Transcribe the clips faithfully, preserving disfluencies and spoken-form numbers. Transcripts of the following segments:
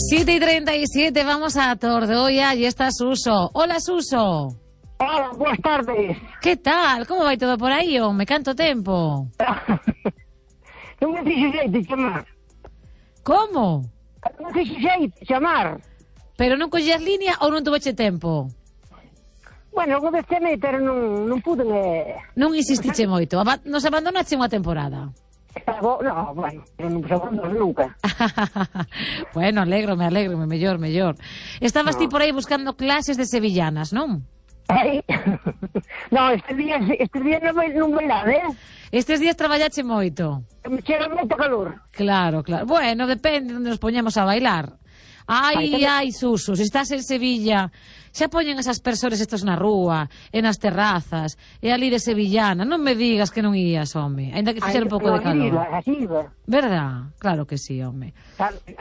siete y treinta y siete, vamos a Tordoia y está Suso. Hola, Suso. Hola, boas tardes. Que tal? Como vai todo por aí, me canto tempo? Non me fixe xeito chamar. Como? Non me fixe xeito chamar. Pero non collías línea ou non tuveche tempo? Bueno, algo deste me, pero non, non pude... Eh... Non insistiche moito, Aba nos abandonache unha temporada. No, bueno, non nos abandono nunca. Bueno, alégrome, alégrome, mellor, mellor. Estabas No. ti por aí buscando clases de sevillanas, non? Ai. No, estes días, estes días non vai, non vai nada, eh? Estes días traballache moito. Me chega moito calor. Claro, claro. Bueno, depende de onde nos poñemos a bailar. Ai, Ai, ai, Suso, se estás en Sevilla, xa poñen esas persoas estos na rúa, e nas terrazas, e ali de sevillana. Non me digas que non ías, home. Ainda que fixera un pouco de calor. Así iba, Verdad? Claro que sí, home.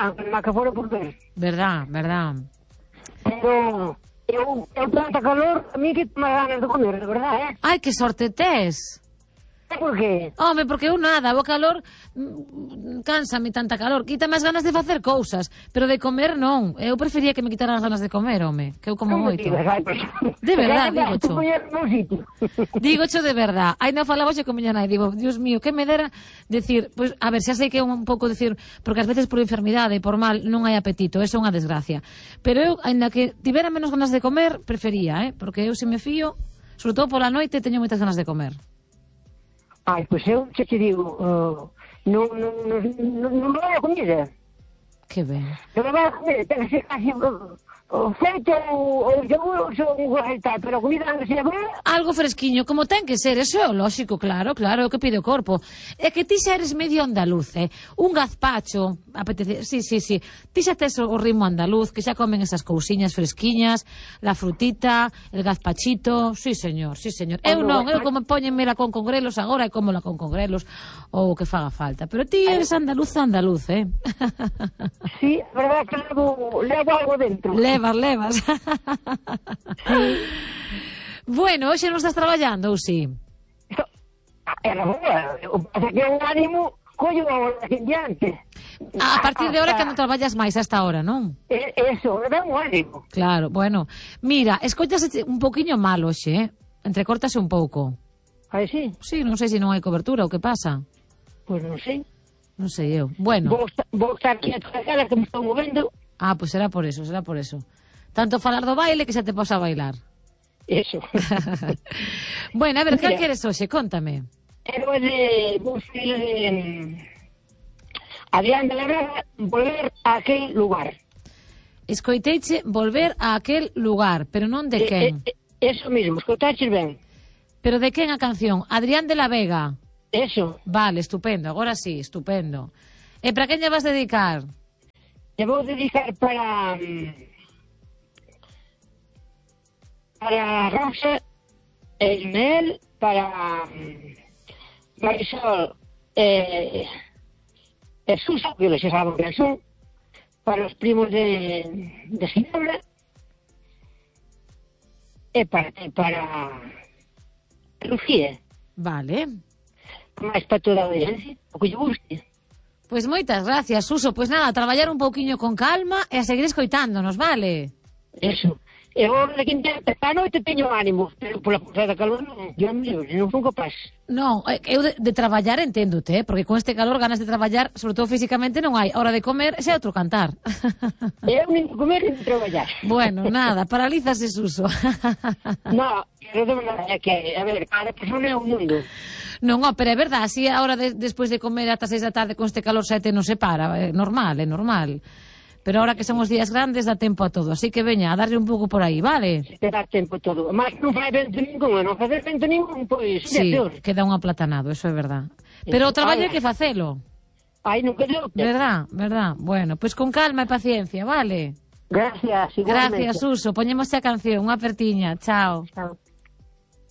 aunque má que fora por ver. Verdad, verdad. Pero eu, eu tanta calor, a mí que me ganas de comer, de verdad, eh? Ai, que sorte tes. Por qué? Home, porque eu nada, o calor mm, cánsame tanta calor, quita máis ganas de facer cousas, pero de comer non. Eu prefería que me quitaran as ganas de comer, home, que eu como Non me moito. digas, ai, pues, De verdad, digo digo cho. Digo cho de verdad. Aí non falaba xe con miña nai, digo, Dios mío, que me dera decir, pues, a ver, xa sei que é un pouco decir, porque ás veces por enfermidade e por mal non hai apetito, eso é unha desgracia. Pero eu, aínda que tivera menos ganas de comer, prefería, eh, porque eu se me fío, sobre todo pola noite, teño moitas ganas de comer. Ai, pois eu xa te digo, uh, non, non, non, non, non me vai a comida. Que ben. Non me vai a comida, ten que ser casi uh, o feito ou o yogur ou un tal, pero a comida non se llama. Algo fresquiño, como ten que ser, eso é o lóxico, claro, claro, é o que pide o corpo. É que ti xa eres medio andaluz, eh? Un gazpacho, apetece, sí, sí, sí, ti xa tes o ritmo andaluz, que xa comen esas cousiñas fresquiñas, la frutita, el gazpachito, sí, señor, sí, señor. Eu non, eu como póñenmela con congrelos agora e como la con congrelos ou o que faga falta, pero ti eres andaluz, andaluz, eh? Sí, a verdad que levo, levo algo dentro. Levas, levas. Sí. Bueno, hoxe non estás traballando, ou si? Era boa, o que pasa que o ánimo collo agora en diante. A partir de ahora que non traballas máis hasta ahora, non? E- Eso, me dá un ánimo. Claro, bueno. Mira, escoitas un poquinho mal hoxe, eh? Entrecortase un pouco. Ai, sí? Sí, non sei se non hai cobertura ou que pasa. Pois non sei. Non sei eu. Bueno. Vou, esta- vou estar aquí a traballar, que me estou movendo. Ah, pois pues será por eso, será por eso. Tanto falar do baile que xa te posa a bailar. Eso. Bueno, a ver, que Mira. queres hoxe? Contame. Pero é de... Vou ser de... Adrián de la Vega, volver a aquel lugar. Escoiteiche volver a aquel lugar, pero non de Eh, quen. eh, Eso mismo, escotaches ben. Pero de quen a canción? Adrián de la Vega. Eso. Vale, estupendo, agora sí, estupendo. E para quen lle vas dedicar? Te vou dedicar para... mm, Para Rosa, Ismael, para mm, Marisol, eh, e Susa, que les saben que son, para os primos de, de Ginebra, e para, e para Lucía, Vale. máis para toda a audiencia, o que lle guste. Pois moitas gracias, Suso. Pois nada, a traballar un pouquiño con calma e a seguir escoitándonos, vale? Eso. E agora de quinta a noite teño ánimo, pero pola forza da calor non, yo non fun capaz. Non, eh, eu de, de traballar enténdote, eh? Porque con este calor ganas de traballar, sobre todo físicamente, non hai. Hora de comer, xa é outro cantar. Eu nin comer nin traballar. Bueno, nada, paralízase, Suso. No, pero de verdade é que, a ver, cada persona é un mundo. Non, ó, pero é verdade, así a hora de, despois de comer ata seis da tarde con este calor sete non se para, é normal, é normal. Pero ahora que son os días grandes dá tempo a todo, así que veña, a darlle un pouco por aí, vale? Te dá tempo todo. Mas non fai vento ningún, non fai vento ningún, pois, Sí, é peor. queda un aplatanado, eso é verdad. Pero o traballo hai que facelo. Ai, non quedou. Verdad, verdad. Bueno, pois con calma e paciencia, vale? Gracias, igualmente. Gracias, Suso. Poñemos a canción, unha apertiña. Chao. Chao.